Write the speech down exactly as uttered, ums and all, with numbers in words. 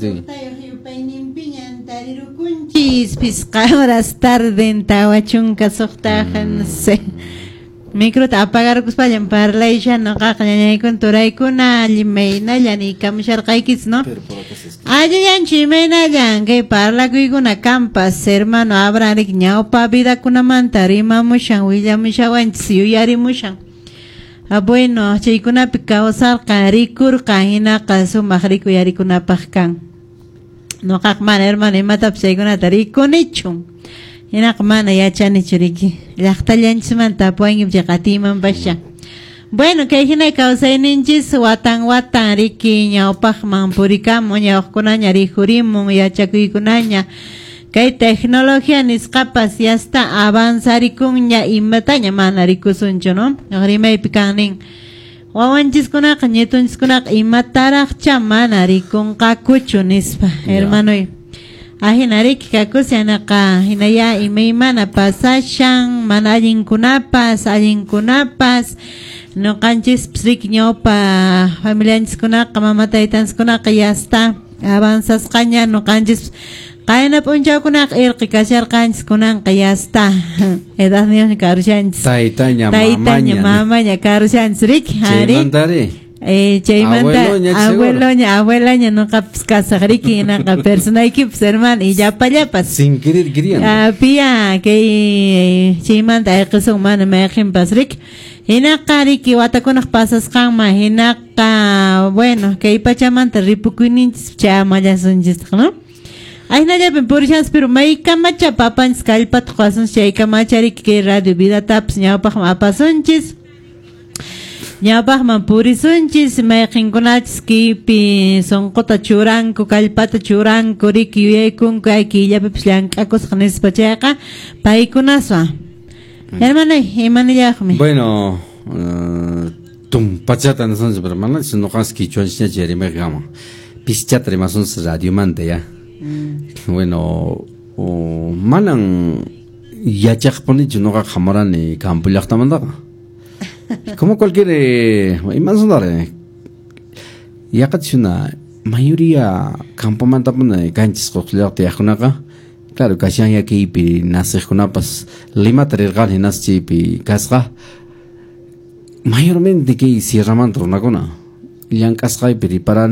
Yupayninpiñan tarirukunchis pisqa horas tarden tawa chunka suqta, no sé. Microta apagarkuspallan parlaylla noqaqa ñañaykuna turaykuna imaynallan niykamusharqaykis, no? Allillanchu imaynallan kay parlakuykuna kampas hermano Abraham rik ñawpa vidakunamanta rimamushan willamushawanchis yuyarimushan. Ah, bueno, chaykunapi kawsarqa rikurqa hinaqa sumaq rikuyarikunapaq kan. Noqaq mana hermano imatapas chaykunata rikunichu. Hinaqa mana yachanichu riki. Llaqtallanchismanta apuwanki chay qatiymanpascha. Bueno, kay hina kawsayninchis watan watan riki ñawpaqman purikamun ñawqkunaña rikhurimun yachakuykunaña. Kay tecnología nisqapas ya está avanzarikunña imataña mana rikusunchu, no? Rimaypi kan nin. Wawanchiskunaqa ñetunchiskunaqa imataraqcha mana rikunqakuchu nispa, hermanoy. Ahina riki kakusha hinaya imaymana pasashan mana allinkunapas allinkunapas noqanchispas riki ñawpa familianchiskunaqa mama taytanchiskunaqa ya está avanzasqaña noqanchis qayna p'unchawkunaqa irqi kasharqanchis kunanqa ya está edadniyuqña karushanchis Taytaña, taytaña mamaña. mamaña karushanchis riki ari Chaymantari. Eh, chaymanta Abueloña, seguro. abueloña abuelaña noqapas kasaq riki hinaqa personaykipas hermano y llapallapas Sin querer queriendo. Ah, pia kay chaymanta ayqisun mana mayqinpas riki hinaqa riki watakunaq pasasqanman hinaqa bueno kay pachamanta ripukuyninchis chayamallasunchistaq no Ahinallapin purishanchis pero maykamacha papanchis kallpata quwasunchis chaykamacha riki kay radio vidatapas ñawpaqman apasunchis ñawpaqman purisunchis mayqinkunachis kaypi sunquta churanku kallpata churanku riki yuyaykunku ay killapipis llank'akusqa nispa chayqa paykunaswan hermanay imanillaqmi Bueno, uh, tumpachata nasunchis, pero manachis noqanchis quichuanchisñachi rimayqama. Pischata rimasunchis radiomanta ya. Bueno, o, manan yachaqpunichu noqaqa hamurani campo llaqtamantaqa. Como cualquier eh, imasunare yaqachuna mayoría campomantapuni kanchis qullaqta yaqkunaqa claro kashan yakiypi nasiqkunapas Limata rirqani hinas chaypi kasqa mayormente kay sierramanta runakuna llank'asqaypi riparani.